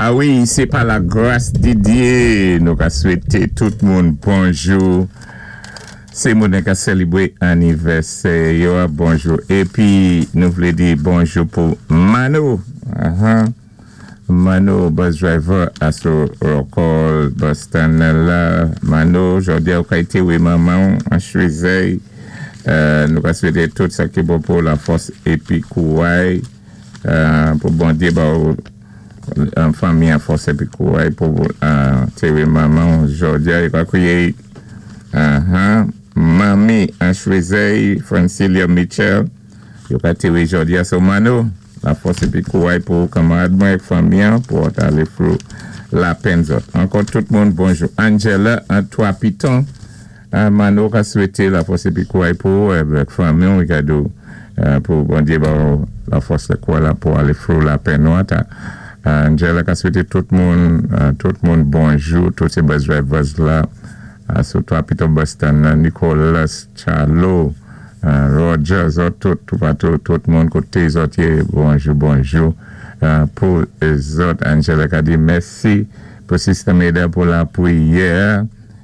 A wi, sé pa la gras di Dye nou ka swété tout moun bonjou. Sé moun ka sélébwé anivèsè yo, bonjou. Épi nou vlé di bonjou pou Mano. Mano, bus driver asou Rockall bus stand la. Mano, jòdi-a ou ka téwé manman'w an Chwézèy. Nou ka swété tout sa ki bon pou la fòs épi kouway pou Bondyé ba ou an fanmi an fòs épi kouway pou téwé manman'w jòdi-a yo ka kwiyé manmi an Chwézèy, Francilia Mitchell, yo ka téwé jòdi-a. So Mano, la fòs épi kouway pou kanmarad mwen ak fanmi an pou ou alé through lapenn zòt. Ankò tout moun bonjou. Angela an Twa Piton. Mano ka swété la fòs épi kouway pou avèk fanmi ou kado pou Bondyé ba ou la fòs la kouway la pou alé through lapenn nou ata. Angela ka swété tout moun bonjou, tout sé bus drivers la sou Twa Piton bus stand nan, Nicolas, Charlo, Roger, zòt tout, toupatou, tout moun koté zòt yé, bonjou, bonjou pou zòt. Angela ka di mèsi pou Sister Meda pou la pwiyè.